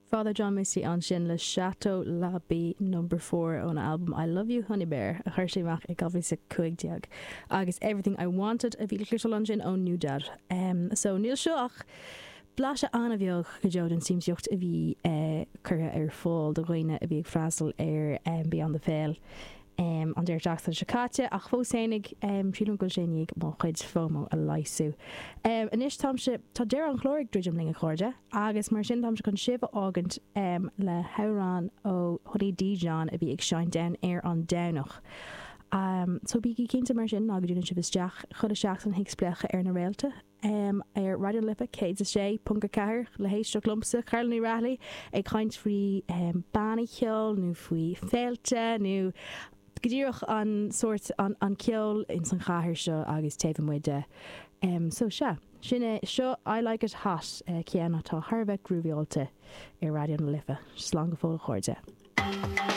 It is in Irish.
Father John Misty ansin le Chateau L'Abbaye Number 4 óna albam I Love You Honey Bear a chuir sé amach i 2015 agus Everything I Wanted a bhí le cloisteáil ansin ó NewDad. So níl seo ach blaiseadh an-bheag go deo den siamsaíocht a bhí curtha ar fáil do dhaoine a bhí ag freastal ar Beyond the Pale an deireadh seachtaine seo caite ach fós fhéinig sílim go bhfuil sé i ndiaidh mo chuid FOMO a leigheasú. Anois táimse, tá deireadh an chláir ag druidim linn a chairde. Agus mar sin táimse chun sibh a fhágaint le hamhrán ó Honey Dijon a bhí ag seinnt ann ar an Domhnach. So bígí cinnte mar sin ná go dtiúnann sibh isteach chuile sheachtain chuig Spléachadh ar na Réalta ar Raidió na Life 106.4 le héisteacht liomsa, Carla Ní Raghallaigh, ag caint faoi bannaí ceoil nó faoi féilte nó go díreach an sórt, an ceol ins an chathair seo agus taobh amuigh de. So sea, sin é, seo I Like It Hot, ceann atá thar a bheith grúvaíáilte ar Raidió na Life. Slán go fóill a chairde.